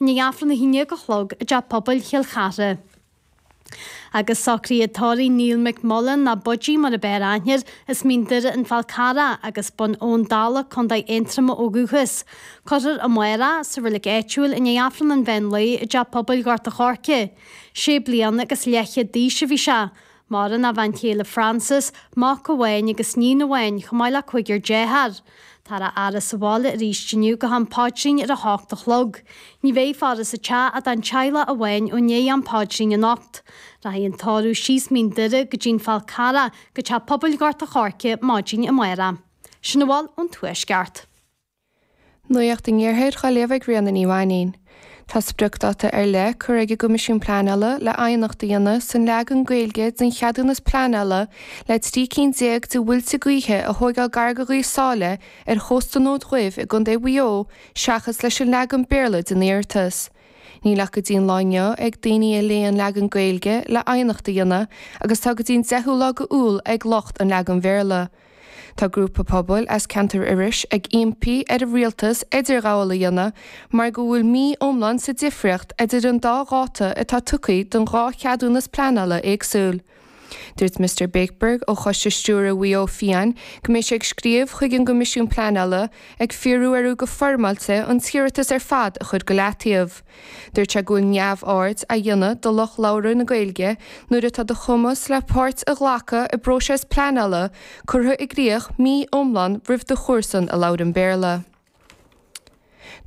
I ndiaidh Aifreann 11 a chlog i dTeach Pobail Chill Chartha. Agus socruithe tórraimh Neil McMullen, nó Budgie mar ab fhearr aithne air, as Mín Doire an Fál Carrach agus Bun Abhann Dalla, Co. Aontroma ó dhúchas. Cuirfear amárach sa reilig áitiúil i ndiaidh Aifreann an mheán lae i dTeach Pobail Ghort a' Choirce. Sé bliana agus leathchéad d'aois a bhí sé. Maireann a bhean chéile Frances, mac amháin agus níon amháin, chomh maith le cúigear dearthár. Táthar á fhaire sa bhaile arís inniu go ham paidrín ar a hocht a chlog. Ní bheidh faire sa teach ach don teaghlach amháin ó ndiaidh am paidrín anocht. Rachaidh an tórramh síos Mín Doire go dtí'n Fál Carrach go Teach Pobail Ghort a' Choirce maidin amárach. Sin a bhfuil ón Tuaisceart. Nuacht an Iarthair á léamh ag Ríona Ní Mhainín. Tá spriocdáta ar leith curtha ag an gCoimisiún Pleanála le aighneacht a dhéanamh san leagan Gaeilge den cheadúnas pleanála le 13 cinn de mhuilte gaoithe a thóigeáil gar go Ghaoth Sáile ar chósta an Fhóid Dhuibh i gContae Mhaigh Eo seachas leis an leagan Béarla den iarratas. Níl ach go dtí an lá inniu ag daoine a léigh an leagan Gaeilge le aighneacht a dhéanamh agus tá go dtí an 10ú lá go Iúil ag lucht an leagan Bhéarla. Tá grúpa pobail as ceantar Iorrais ag impí ar an rialtas idirghabháil a dhéanamh mar go bhfuil mí iomlán sa difríocht idir an dá dháta atá tugtha don dhá cheadúnas pleanála éagsúil. Dúirt Mister Bakeberg ó Choiste Stiúrtha Mhaigh Eo Fiáin go mbeidh sé ag scríobh chuig an gCoimisiún Pleanála ag fiafraí orthu go foirmeáilte an t-iarratas ar fad a chur go leataobh. Dúirt sé go bhfuil neamhaird á dhéanamh de lucht labhartha na Gaeilge nuair atá do chumas le páirt a ghlacadh i bpróiseas pleanála curtha i gcrích mí iomlán roimh do chomharsan a labhrann Béarla.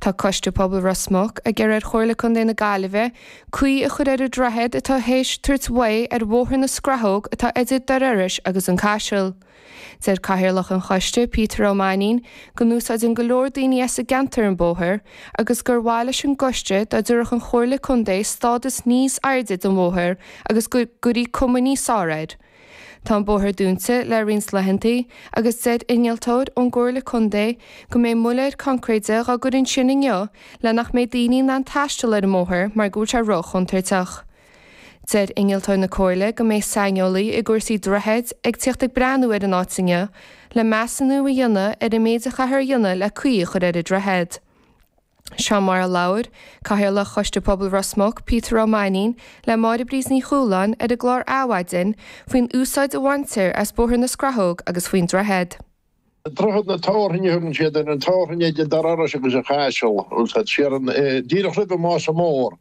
Tá Coiste Pobail Ros Muc ag iarraidh ar Chomhairle Contae na Gaillimhe caoi a chur ar an droichead atá théis tabhairt uaidh ar Bhóthar na Scrathóg atá idir Doire Iorrais agus an Caiseal. Deir Cathaoirleach an choiste, Peter Ó Mainnín, go n-úsáideann go leor daoine as an gceantar an bóthar agus gur mhaith leis an gcoiste dá dtabharfadh an Chomhairle Contae stádas níos airde don bhóthar agus go gcuirfí cuma níos fearr air. Tá an bóthar dúnta le roinnt laethanta agus deir innealtóir ón gComhairle Contae go mbeidh muiléir coincréide dhá gcur ansin inniu le nach mbeidh daoine in ann taisteal ar an mbóthar mar go bhfuil sé ró-chontúirteach. Deir innealtóir na Comhairle go mbeidh saineolaí i gcúrsaí droichid ag tíocht ag breathnú ar an áit inniu le measúnú a dhéanamh ar an méid a chaithfear a dhéanamh le caoi a chur ar an droichead. Seo mar a labhair Cathaoirleach Choiste Pobail Ros Muc, Peter Ó Mainnín, le Máire Bríd Ní Chualáin ar an gclár Adhmhaidin faoin úsáid a bhaintear as Bóthar na Scrathóg agus faoin droichead. Droichead na Tabharthainne a thugann siad air, an Tabharthainn idir Doire Iorrais agus an Chaiseal, siar an, díreach roimh an Mása Mór,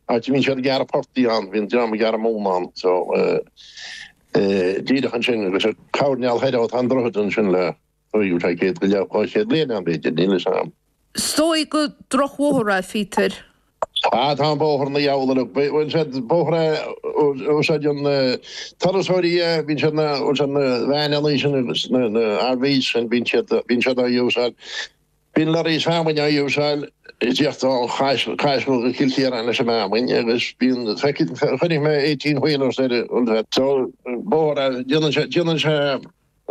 áit a mbíonn siad ag gearradh portaigh ann, bhíonn dream ag gearradh móna ann, so, díreach ansin agus ar choirnéal thoir tá an droichead ansin le, bhí sé 100 go leith, 200 bliain ann b'fhéidir, níl fhios a'm. Is dóigh gur drochbhóthar é, Phíotair. Ah, tá an bóthar ina dheabhal uilig. Bhuel, siad bóthar é a úsáideann turasóirí é, bíonn siad na, bhuel siad na veaineanna sin agus na, na RVs sin, bíonn siad, bíonn siad á úsáid. Bíonn lorries feamainne á úsáid ag tíocht ó Chaiseal go Cill Chiaráin leis an bhfeamainn agus bíonn, chonaic mé 18 wheelers ar, bhuel, so bóthar é, déanann sé, déanann sé,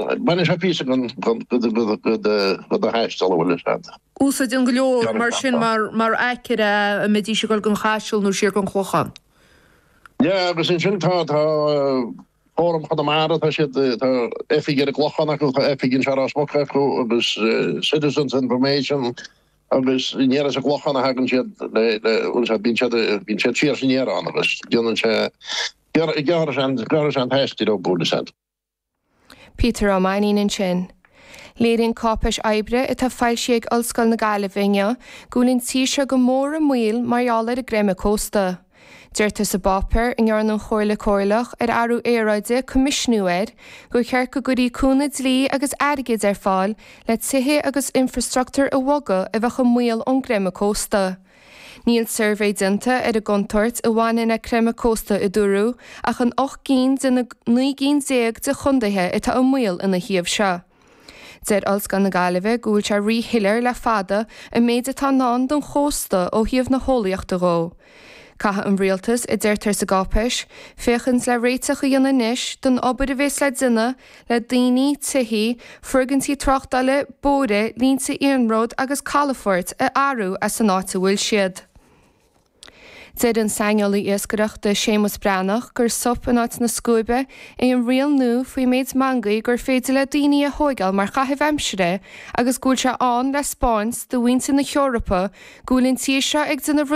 Baineann sé píosa den do thaisteal, an bhfuil fhios a'd. Úsáideann go leor mar sin mar aicearra é a mbeidís ag dul don Chaiseal nó siar don Chlochán. Yeah, agus ansin tá tá Fóram Chonamara, tá siad, tá oifig ar an gClochán acu, tá oifig anseo i Ros Muc acu agus Citizens Information agus aniar as an gClochán a thagann siad le, le, bhfuil fhios a'd, bíonn siad, bíonn siad siar is aniar ann agus déanann sé, gearrann sé an, gearrann sé an t-aistear ó, bhfuil fhios a'd. Peter Ó Mainnín ansin. Léiríonn cáipéis oibre atá foilsithe ag Ollscoil na Gaillimhe inniu go bhfuil an tír seo go mór i mbaol mar gheall ar an gcreimeadh cósta. Deirtear sa bpáipéar, a ndearna an Chomhairle Chomhairleach ar Athrú Aeráide coimisiúnú air, gur cheart go gcuirfí cúnamh dlí agus airgid ar fáil le tithe agus infreastruchtúr a bhogadh a bheadh i mbaol ón gcreimeadh cósta. Níl suirbhé déanta ar an gcontúirt a bhaineann le creimeadh cósta a dúradh ach in 8 gcinn de na 19 gcinn de chontaetha atá i mbaol ina thaobh seo. Deir Ollscoil na Gaillimhe go bhfuil sé ríshoiléir le fada an méid atá i ndán don chósta ó thaobh na heolaíochta dhó. Caithfidh an rialtas, a deirtear sa gcáipéis, féachaint le réiteach a dhéanamh anois don obair a bhéas le déanamh le daoine, tithí, foirgintí tráchtála, bóithre, línte iarnróid agus calafoirt a athrú as an áit a bhfuil siad. Deir an saineolaí iascaireachta Séamus Breathnach gur sop in áit na scuaibe é an riail nua faoin méid meangaí gur féidir le daoine a thóigeáil mar chaitheamh aimsire agus go bhfuil sé ann le 'spáint do mhuintir na hEorpa go bhfuil an tír seo ag déanamh rud.